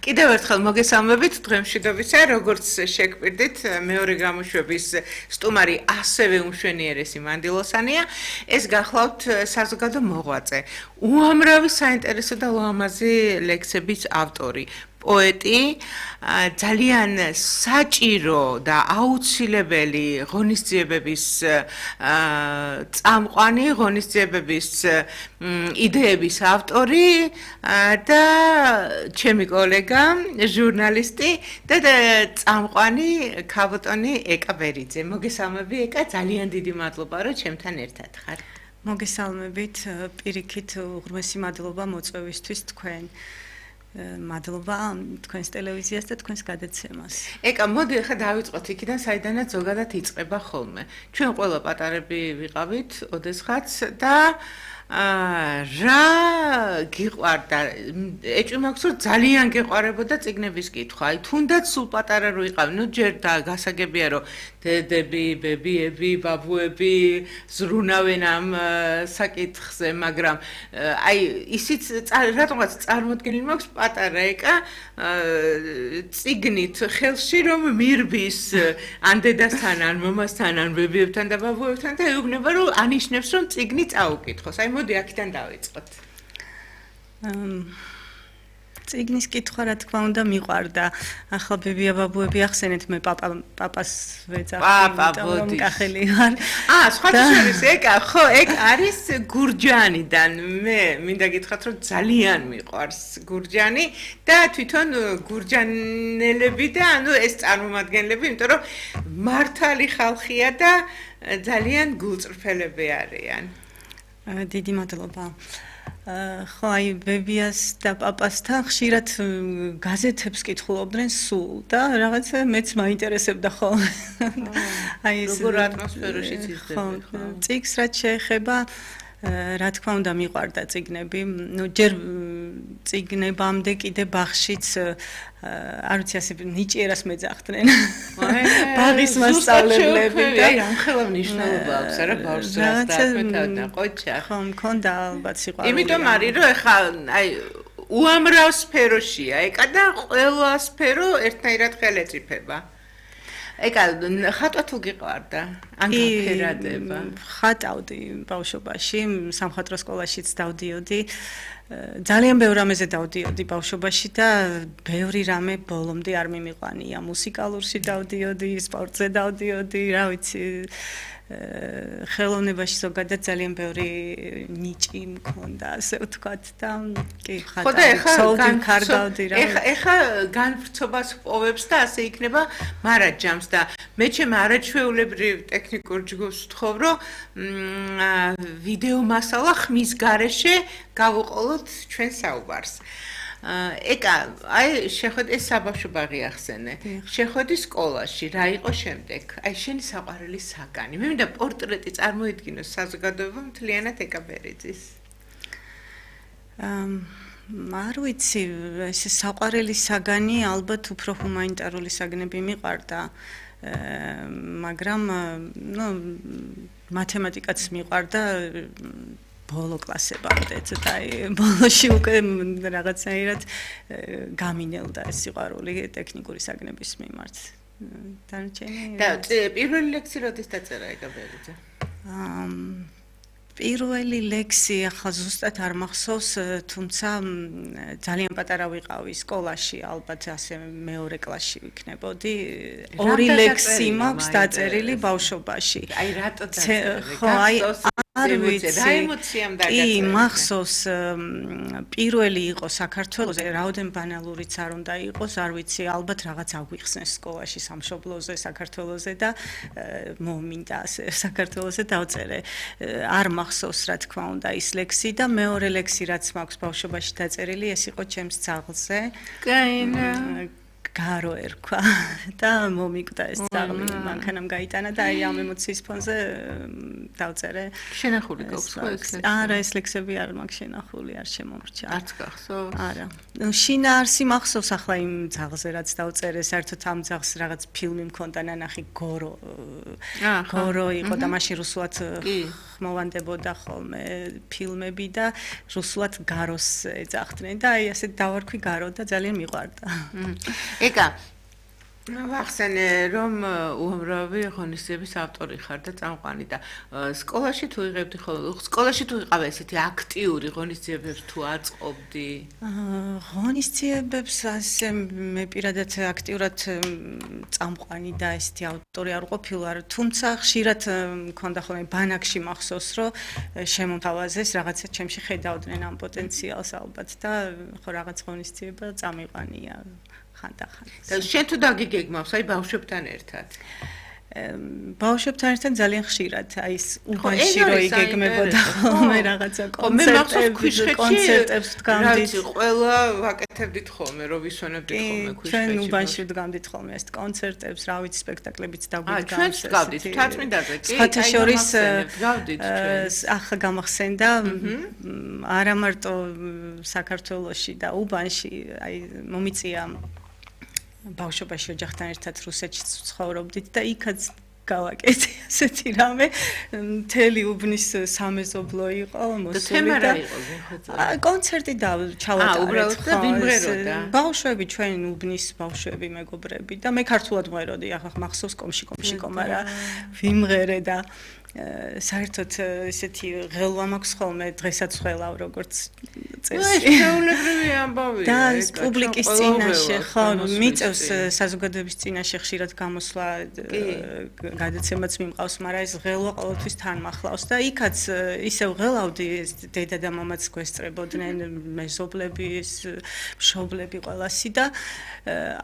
კიდევ ერთხელ მოგესალმებით დღემშვიდობისა, როგორც შეგვირდით, მეორე გამოშვების სტუმარი ასევე უმშვენიერესი მანდილოსანია. ეს გახლავთ საზოგადო მოღვაწე, უამრავი საინტერესო და ლამაზი ლექსების ავტორი. პოეტი, ძალიან საჭირო და აუცილებელი ღონისძიებების წამყვანი, ღონისძიებების იდეების ავტორი და ჩემი კოლეგა, ჟურნალისტი და წამყვანი ქაბოტონი ეკა ბერიძე. მოგესალმები ეკა, ძალიან დიდი მადლობა, რომ ჩემთან ერთად ხარ. მოგესალმებით, პირიქით უღრმესი მადლობა მოწვევისთვის თქვენ. მადლობა თქვენს ტელევიზიას და თქვენს გადაცემას. ეკა, მოდი ახლა დავიწყოთ იქიდან, საიდანაც ზოგადად იწყება ხოლმე. ჩვენ ყველა პატარები ვიყავით, ოდესღაც და რა გიყვარდა? ეჭვი მაქვს, რომ ძალიან გეყვარებოდა წიგნების კითხვა. აი, თუნდაც სულ პატარა რო იყავი, ნუ ჯერ და გასაგებია, რომ დედები, ბებიები, ბაბუები ზრუნავენ ამ საკითხზე, მაგრამ აი, ისიც რატომღაც წარმოდგენილი მაქვს პატარა ეკა წიგნით ხელში რომ მირბის ან დედასთან, ან მომასთან, ან ბებიებთან და ბაბუებთან და ეუბნება, რომ ანიშნებს, რომ წიგნი წაუკითხოს. აი, მოდი აქედან დავიწყოთ. წიგნის კითხვა რა თქმა უნდა მიყვარდა. ახლა ბებია ბაბუები ახსენეთ, მე პაპას ვეძახი, რომ კახელი ვარ. სხვათა შორის ეკა, ხო, ეგ არის გურჯანიდან. მე მინდა გითხრათ, რომ ძალიან მიყვარს გურჯანი და თვითონ გურჯანელები და ანუ ეს წარმომადგენლები, იმიტომ რომ მართალი ხალხია და ძალიან გულწრფელები არიან. დიდი მადლობა. ხო, აი ბებიას და პაპასთან ხშირად გაზეთებს კითხულობდნენ სულ და რაღაცა მეც მაინტერესებდა ხოლმე. აი ეს როგორ ატმოსფეროში ცისდება ხო? წიგნს რაც შეეხება, რა თქმა უნდა მიყვარდა წიგნები. ნუ ჯერ წიგნებამდე კიდე ბაღშიც არ ვიცი ასე ნიჭიერას მეძახდნენ. ბაღის მასწავლებლები და აი ამხელა მნიშვნელობა აქვს არა ბავშვს რას დააკვეთავდა ყოჩა. ხო, მქონდა ალბათ სიყვარული. იმიტომ არის რომ ეხა აი უამრავ სფეროშია ეკა და ყველა სფერო ერთნაირად ხელეწიფება. ეკა ხატვა თუ გიყვარდა? ან გაფერადება? ხატავდი ბავშვობაში, სამხატვრო სკოლაშიც დავდიოდი. ძალიან ბევრ რამეზე დავდიოდი ბავშვობაში და ბევრი რამე ბოლომდე არ მიმიყვანია. მუსიკალურში დავდიოდი, სპორტზე დავდიოდი, რა ვიცი, ხელოვნებაში ზოგადად ძალიან ბევრი ნიჭი მქონდა, ასე ვთქვათ და კი ხატავდი, კარგავდი რა. ეხა განვრცობას პოვებს და ასე იქნება მარაჯამს და მე ჩემ არაჩვეულებრივ ტექნიკურ ჯგუფს ვთხოვ, რომ ვიდეო მასალა ხმის გარეშე გავუყოლოთ ჩვენ საუბარს. ეკა, აი შეხვედი ეს საბავშვო ბაღი ახსენე. შეხვედი სკოლაში, რა იყო შემდეგ? აი შენი საყვარელი საგანი. მე მინდა პორტრეტი წარმოიდგინოს საზოგადოებამ მთლიანად ეკა ბერიძის. არ ვიცი, ეს საყვარელი საგანი ალბათ უფრო ჰუმანიტარული საგნები მიყვარდა. მაგრამ ნუ მათემატიკაც მიყვარდა ბოლო კლასებამდე, ცოტა აი ბოლოში უკვე რაღაცნაირად გამინელდა ეს სიყვარული ტექნიკური საგნების მიმართ. დანარჩენი და პირველი ლექსი როდის დაწერა ეკა ბერიძე? პირველი ლექსი ახლა ზუსტად არ მახსოვს, თუმცა ძალიან პატარა ვიყავი სკოლაში, ალბათ ასე მეორე კლასში ვიქნებოდი. ორი ლექსი მაქვს დაწერილი ბავშვობაში. აი რატო დაწერე? ხო, აი არ ვიცი. რა ემოციამ დაგაწერე? კი, მახსოვს პირველი იყო საქართველოზე, რაოდენ ბანალურიც არ უნდა იყოს, არ ვიცი, ალბათ რაღაც აგვიხსნეს სკოლაში სამშობლოზე, საქართველოზე და მომინდა ასე საქართველოზე დავწერე. არ მახსოვს რა თქმა უნდა ის ლექსი და მეორე ლექსი რაც მაქვს ბავშვობაში დაწერილი, ეს იყო ჩემს ძაღლზე. კაინა. გარო ერქვა და მომიკვდა ეს ძაღლი მანქანამ გაიტანა და აი ამ ემოციის ფონზე დავწერე შენახული გაქვს ხო ეს არა ეს ლექსები არ მაქვს შენახული არ შემომრჩა არც გახსოვს არა შინაარსი მახსოვს ახლა იმ ძაღლზე რაც დავწერე საერთოდ ამ ძაღლს რაღაც ფილმი მქონდა ნანახი გორო იყო და მაშინ რუსულად ხმოვანდებოდა ხოლმე ფილმები და რუსულად გაროს ეძახდნენ და აი ასე დავარქვი გარო და ძალიან მიყვარდა ეკა ვახსენე რომ უამრავი ღონისძიების ავტორი ხარ და წამყვანი და სკოლაში თუ იღებდი ხოლმე სკოლაში თუ იყავ ესეთი აქტიური ღონისძიებებს თუ აწყობდი ღონისძიებებს ასე მე პირადად აქტიურად წამყვანი და ესეთი ავტორი არ ყოფილვარ თუმცა ხშირად მქონდა ხოლმე ბანაკში მახსოვს რომ შემომთავაზეს რაღაცა ჩემში ხედავდნენ ამ პოტენციალს ალბათ და ხო რაღაც ღონისძიება წამიყვანია ხანდახან. და შენ თუ დაგიგეგმავს, აი ბავშვებთან ერთად? ბავშვებთან ერთად ძალიან ხშირად, აი ეს უბანში რო იგეგმებოდა ხოლმე რაღაცა კონცერტებს ვდგამდით. ყველა ვაკეთებდით ხოლმე, რო ვისვენებდით ხოლმე ქუჩაში. ჩვენ უბანში ვდგამდით ხოლმე ეს კონცერტებს, რა ვიცი, სპექტაკლებიც დაგვიდგამს. ჩვენ ვდგავდით, თათმიდაზე კი, სხვათა შორის ვდგავდით ჩვენ. ახლა გამახსენდა არა მარტო საქართველოში და უბანში, აი მომიწია ბავშვობაში ოჯახთან ერთად რუსეთში ცხოვრობდით და იქაც გავაკეთე ასეთი რამე მთელი უბნის სამეზობლო იყო მოსული და კონცერტი ჩავატარეთ და ვიმღეროდა ბავშვები ჩვენ უბნის ბავშვები მეგობრები და მე ქართულად მღეროდი ახლა მახსოვს კომში კომარა ვიმღერე და საერთოდ ესეთი ღელვა მაქვს ხოლმე დღესაც ხველავ როგორც წესი. შეულებრივი ამბავია. და ეს პუბლიკის წინაშე ხო მიწევს საზოგადოების წინაშე ხშირად გამოსვლა გადაცემაც მიმყავს, მაგრამ ეს ღელვა ყოველთვის თან მახლავს და იქაც ისევ ღელავდი ეს დედა და მამაც გვესწრებოდნენ მეზობლები, მშობლები ყველასი და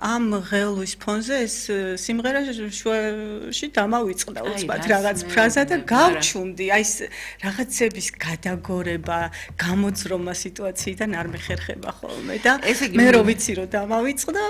ამ ღელვის ფონზე ეს სიმღერა შუაში დამავიწყდა უცბად რაღაც ფრაზა და გავჩუმდი აი ეს რაღაცების გადაგორება, გამოძრომა სიტუაციიდან არ მეხერხება ხოლმე და მე რო ვიცი რომ დამავიწყდა,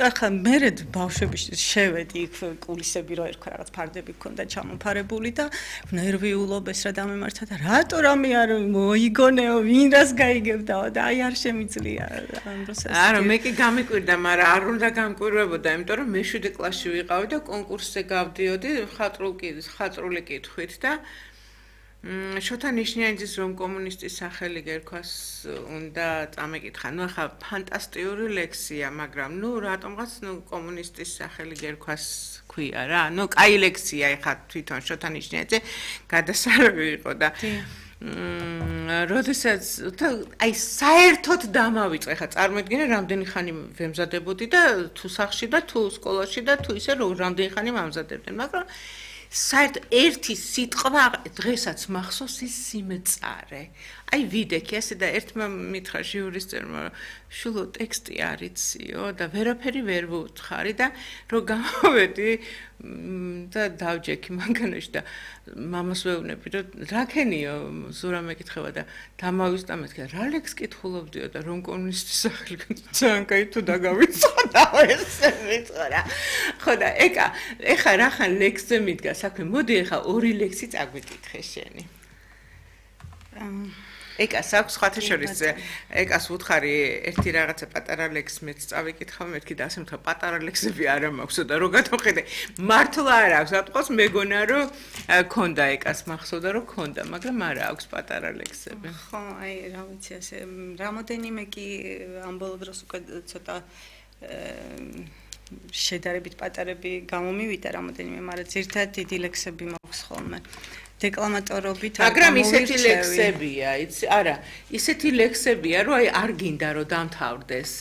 ახლა მე ბავშვები შევედი იქ კულისები რო ერქვა რაღაც ფარდები ქონდა ჩამოფარებული და ნერვიულობ ეს რა დამემართა და რატო რამე არ მოიგონეო, ვინ რას გაიგებდაო და აი არ შემიძლია ამ დროს არა მე კი გამიკვირდა, მაგრამ არ უნდა გამკვირვებოდა, იმიტომ რომ მე 7 კლასში ვიყავი და კონკურსზე გავდიოდი ხატრული კითხვით და შოთა ნიშნიანიძის რომ კომუნისტის სახელი გერქვას უნდა წამეკითხა. ნუ ახლა ფანტასტიკური ლექსია, მაგრამ ნუ რატომღაც ნუ კომუნისტის სახელი გერქვას ქვია რა. ნუ კაი ლექსია ახლა თვითონ შოთა ნიშნიანიძე გადასარევი იყო და როდესაც აი საერთოდ დამავიწყე ხა წარმოიდგინე რამდენი ხანი ვემზადებოდი და თუ სახლში და თუ სკოლაში და თუ ისე რამდენი ხანი მამზადებდნენ მაგრამ საერთოდ ერთი სიტყვა დღესაც მახსოვს ის სიმწარე აი ვიდექი ასე და ერთმა მითხრა ჟიურისტებმა შულო ტექსტი არიციო და ვერაფერი ვერ ვუთხარი და რო გამოვედი და დავჯექი მანქანაში და მამას ვეუბნები რომ რაკენიო ზურა მეკითხება და დამავისწა მეთქე რა ლექს კითხულობდიო და რომ კომუნისტის სახელი ძალიან კაი თუ დაგავიწყდა ესე მითხრა ხო და ეხა რახან ლექსზე მიდგა საქმე მოდი ეხა ორი ლექსი წაგვიკითხე შენი ეკას აქვს სხვათა შორის ეკას ვუთხარი ერთი რაღაცა პატარა ლექს მეც წავიკითხავ მეთქი და ასე მითხრა პატარა ლექსები არა მაქვსო და რო გადავხედე მართლა არ აქვს ატყოს მეგონა რომ ქონდა ეკას მახსოვდა რომ ქონდა მაგრამ არა აქვს პატარა ლექსები ხო აი რა ვიცი ასე რამოდენიმე კი ამ ბოლო დროს უკვე ცოტა შედარებით პატარები გამომივიდა რამოდენიმე მაგრამ ზირთად დიდი ლექსები მაქვს ხოლმე დეკლამატორობით მაგრამ ისეთი ლექსებია, იცი, არა, ისეთი ლექსებია, რომ აი არ გინდა რომ დამთავრდეს.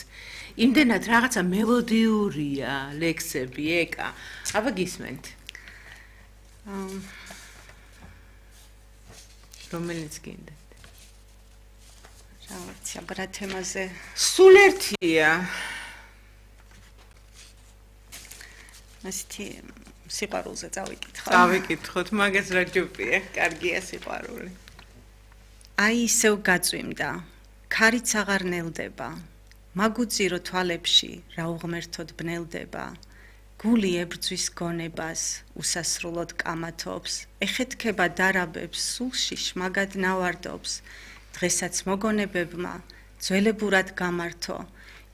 იმდენად რაღაცა მელოდიურია ლექსები, ეკა. აბა გისმენთ. რომელიც გინდათ. რა ვიცი, აბა რა თემაზე? სულ ერთია. ასეთი სიყვარულზე წავიკითხო. წავიკითხოთ, მაგას რა ჯობია, კარგია სიყვარული. აი ისევ გაწვიმდა. ქარიც აღარ ნელდება. მაგუწირო თვალებში რა უღმერთოდ ბნელდება გული ებრძვის გონებას უსასრულოდ კამათობს ეხეთქება დარაბებს სულში შმაგად ნავარდობს დღესაც მოგონებებმა ძველებურად გამართო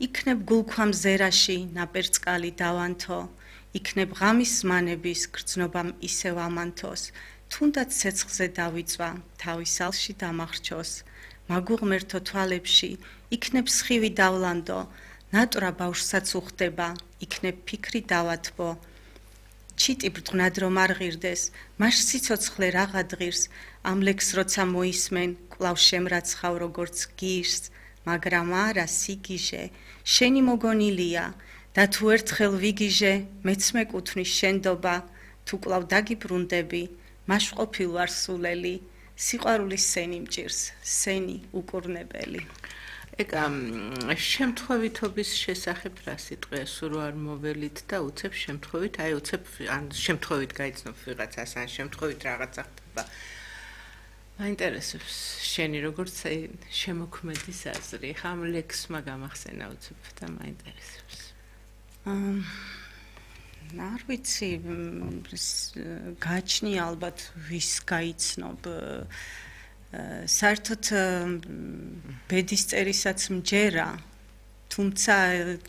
იქნებ გულქვამ ზერაში ნაპერწკალი დავანთო იქნებ ღამის ზმანების გრძნობამ ისევ ამანთოს თუნდაც ცეცხლზე დავიწვა თავის ალში დამახრჩოს მაგუღმერთო თვალებში იქნებ სხივი დავლანდო ნატრა ბავშვსაც უხდება იქნებ ფიქრი დავათბო ჩიტი ბრწყნად რომ არ ღირდეს მას სიცოცხლე რაღა დღირს ამ ლექს როცა მოისმენ კვლავ შემრაცხავ როგორც გირს მაგრამ არა სიგიჟე შენი მოგონილია და თუ ერთხელ ვიგიჟე მეც მეკუთვნის შენდობა თუ კვლავ დაგიბრუნდები მაშყოფილ ვარ სულელი სიყვარულის სენი მჭირს სენი უკურნებელი ეკა შემთხვევითობის შესახებ რა სიტყვია სულ არ მოველით და უცებ შემთხვევით აი უცებ ან შემთხვევით გაიცნობ ვიღაცას ან შემთხვევით რაღაცა ხდება მაინტერესებს შენი როგორც შემოქმედის აზრი ხა ამ ლექსმა გამახსენა უცებ და მაინტერესებს არ ვიცი გაჩნი ალბათ ვის გაიცნობ საერთოდ ბედის წერისაც მჯერა თუმცა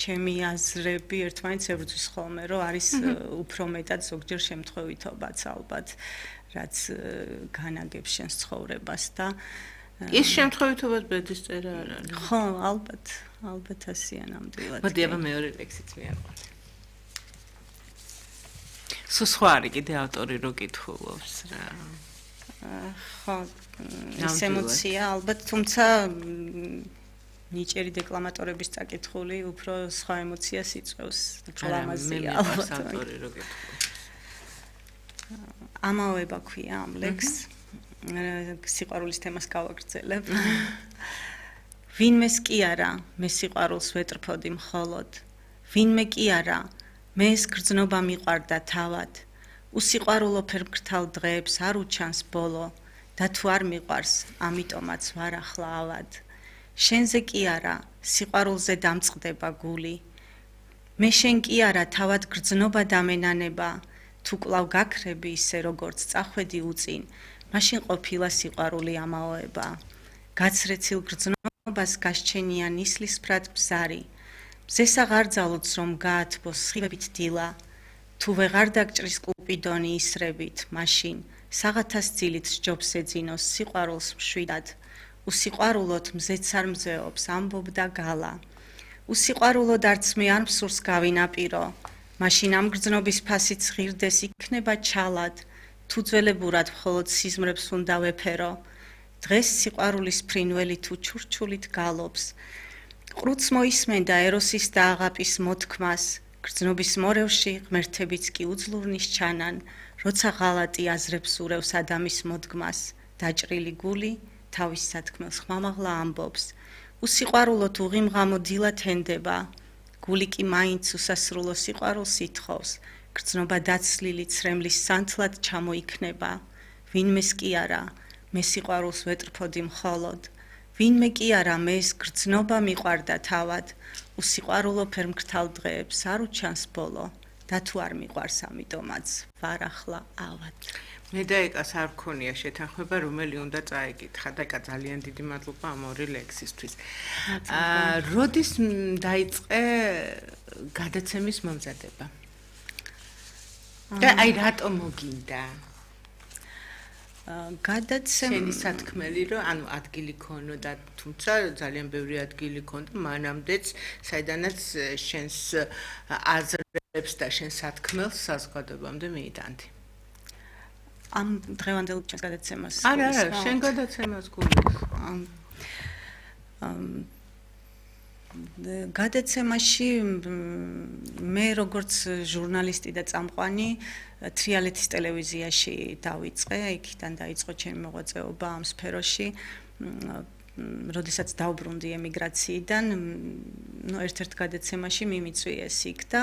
ჩემი აზრები ერთმანეთს ებრძვის ხოლმე რომ არის უფრო მეტად ზოგჯერ შემთხვევითობაც ალბათ რაც განაგებს შენს ცხოვრებას და ის შემთხვევითობაც ბედის წერა არ არის ხო ალბათ ასეა ნამდვილად მოდი აბა მეორე ლექსიც მიაყვანე სულ სხვა არის კიდე ავტორი რო კითხულობს რა ხო ეს ემოცია ალბათ თუმცა ნიჭიერი დეკლამატორების წაკითხული უფრო სხვა ემოციას იწვევს უფრო ლამაზია ალბათ ავტორი რო კითხულობს ამავება ქვია ამ ლექს სიყვარულის თემას გავაგრძელებ ვინმეს კი არა მე სიყვარულს ვეტრფოდი მხოლოდ ვინმე კი არა მე ეს გრძნობა მიყვარდა თავად უსიყვარულო ფერმკრთალ დღეებს არ უჩანს ბოლო და თუ არ მიყვარს ამიტომაც ვარ ახლა ავად შენზე კი არა სიყვარულზე დამწყდება გული მე შენ კი არა თავად გრძნობა დამენანება თუ კვლავ გაქრები ისე როგორც წახვედი უწინ მაშინ ყოფილა სიყვარული ამაოება გაცრეცილ გრძნობას გასჩენია ნისლისფრად ბზარი მზეს აღარ ძალოც რომ გაათბოს სხივებით დილა თუ ვეღარ დაგჭრის კუპიდონი ისრებით მაშინ საღათას ძილით სჯობს ეძინოს სიყვარულს მშვიდად უსიყვარულოდ მზეც არ მზეობს ამბობდა გალა უსიყვარულოდ არც მე არ მსურს გავინაპირო მაშინ ამ გრძნობის ფასიც ღირდეს იქნება ჩალად თუ ძველებურად მხოლოდ სიზმრებს უნდა ვეფერო დღეს სიყვარულის ფრინველი თუ ჩურჩულით გალობს ყრუც მოისმენდა ეროსის და აღაპის მოთქმას გრძნობის მორევში ღმერთებიც კი უძლურნის ჩანან როცა ღალატი აზრებს ურევს ადამის მოდგმას დაჭრილი გული თავის სათქმელს ხმამაღლა ამბობს უსიყვარულოდ უღიმღამო დილად ენდება გული კი მაინც უსასრულო სიყვარულს ითხოვს გრძნობა დაცლილი ცრემლის სანთლად ჩამოიქნება ვინმეს კი არა მე სიყვარულს ვეტრფოდი მხოლოდ ვინმე კი არა მე ეს გრძნობა მიყვარდა თავად უსიყვარულო ფერმკრთალ დღეებს არ უჩანს ბოლო და თუ არ მიყვარს ამიტომაც ვარ ახლა ავად მე და ეკას არ გქონია შეთანხმება რომელი უნდა წაეკითხა და ეკა ძალიან დიდი მადლობა ამ ორი ლექსისთვის როდის დაიწყე გადაცემის მომზადება და აი რატომ მოგინდა შენი სათქმელი რომ ანუ ადგილი ქონოდა თუმცა ძალიან ბევრი ადგილი ქონდა მანამდეც საიდანაც შენს აზრებს და შენს სათქმელს საზოგადოებამდე მიიტანდი ამ დღევანდელ ჩემს გადაცემას არა შენ გადაცემას გულის გადაცემაში მე როგორც ჟურნალისტი და წამყვანი თრიალეთის ტელევიზიაში დავიწყე, იქიდან დაიწყო ჩემი მოღვაწეობა ამ სფეროში. როდესაც დავბრუნდი ემიგრაციიდან, ერთ-ერთ გადაცემაში მიმიწვიეს იქ და